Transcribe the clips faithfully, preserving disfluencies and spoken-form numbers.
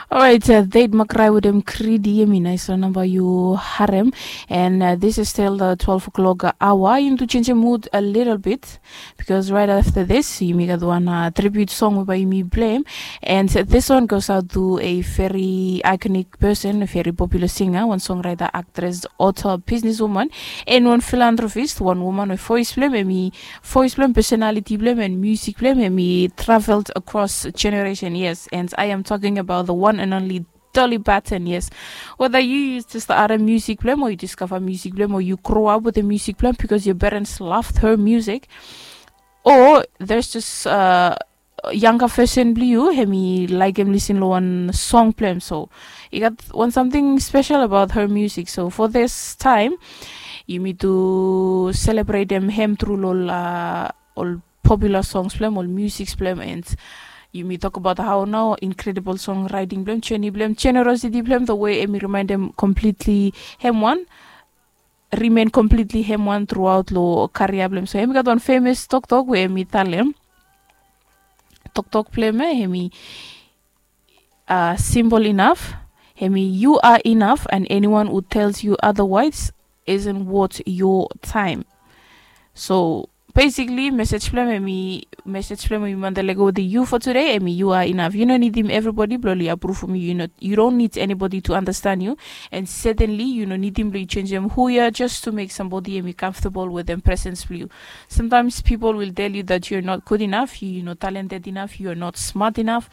Alright, uh, Date Makrai with him Kridi, yumi nais namba yu harem. And uh, this is still the twelve o'clock hour. Yumi tu chenjem mood a little bit because right after this, yumi gat one uh, tribute song by yumi blame. And this one goes out to a very iconic person, a very popular singer, one songwriter, actress, author, businesswoman, and one philanthropist, one woman with voice blame, and me voice blame, personality blame, and music blame, and me traveled across generation, yes. And I am talking about the one and only Dolly Parton, yes. Whether you use just the other music blame or you discover music blame or you grow up with the music blame because your parents loved her music, or there's just uh, younger version blue you, hemi like him listen lo one song blame. So you got one something special about her music. So for this time, you need to celebrate them him through lo uh, all popular songs blame, all music blame, and yumi talk about how now incredible songwriting blame, journey blame, generosity blame, the way emi remind them completely him one, remain completely him one throughout lo career blame. So hemi got one famous talk talk where emi tell him talk talk blame eh, hemi uh, simple enough. Hemi, you are enough, and anyone who tells you otherwise isn't worth your time. So basically, message blame hemi, message blame hemi manda lego with the you for today. Hemi, you are enough. You don't need him everybody bloli approve from you. You, not, you don't need anybody to understand you. And certainly, you don't need him to change him who you are just to make somebody hemi comfortable with them presence blue. Sometimes people will tell you that you're not good enough, you, you're not talented enough, you're not smart enough.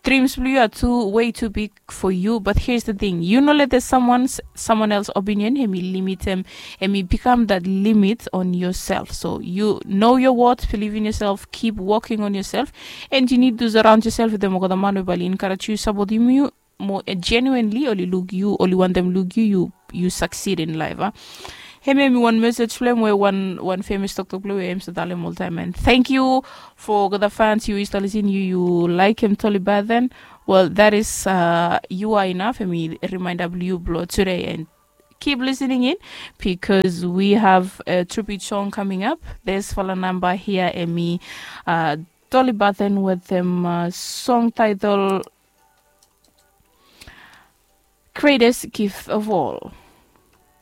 Dreams blue are too way too big for you, but here's the thing. You know that there's someone's someone else's opinion, hemi limit him, hemi become that limit on yourself. So you know your worth, believe in yourself, keep working on yourself, and you need to surround yourself with them. Ogoda man we bali encourage you, support you, you more uh, genuinely, only look you, only want them look you, you you succeed in life. Huh? Hemi hemi one message blame where one one famous talk talk blame where him so tell him all time, and thank you for the fans you is listening you you like him totally bad then. Well, that is uh, you are enough. Hemi remind of you blow today, and keep listening in because we have a tribute song coming up. There's fala number here, Emi uh, Dolly Button with them uh, song title Greatest Gift of All.